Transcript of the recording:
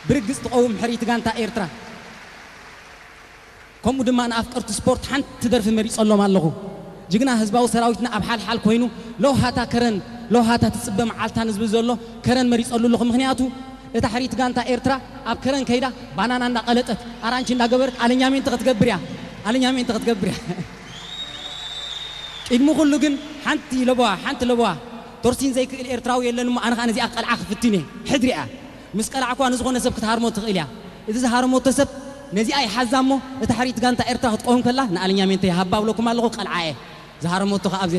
ብርግጽ ትቐውም ሕርይቲ ጋንታ ኤርትራ። ከምኡ ድማ ንኣፍቀርቲ ስፖርት ሓንቲ ደርፊ መሪጸሎም ኣለኹ። ጅግና ህዝባዊ ሰራዊትና ኣብ ሓልሓል ኮይኑ ለውሃታ ከረን ለውሃታ ትጽበ መዓልታ ንዝብል ዘሎ ከረን መሪጸሉ ኣለኹ። ምኽንያቱ እታ ሕርይቲ ጋንታ ኤርትራ ኣብ ከረን ከይዳ ባናና እንዳቐለጠት ኣራንቺ እንዳገበረት ኣለኛሜንት ክትገብር እያ። ኣለኛሜንት ክትገብር እያ። ቅድሚ ኩሉ ግን ሓንቲ ለበዋ ሓንቲ ለበዋ ቶርሲን ዘይክእል ኤርትራዊ የለን እሞ ኣነ ከዓ ነዚኣ ቀልዓ ክፍትን እየ። ሕድሪ እያ። ምስ ቀላዕኳ ንዝኾነ ሰብ ክትሃርሞ ትኽእል እያ። እዚ ዝሃረመቶ ሰብ ነዚኣ ይሓዛ እሞ እታ ሕርይቲ ጋንታ ኤርትራ ክትቀውም ከላ ንኣለኛሜንተ ይሃባ ብለኩም ኣለኹ። ቀልዓ እየ። ዝሃረመቶ ከዓ ኣብዚ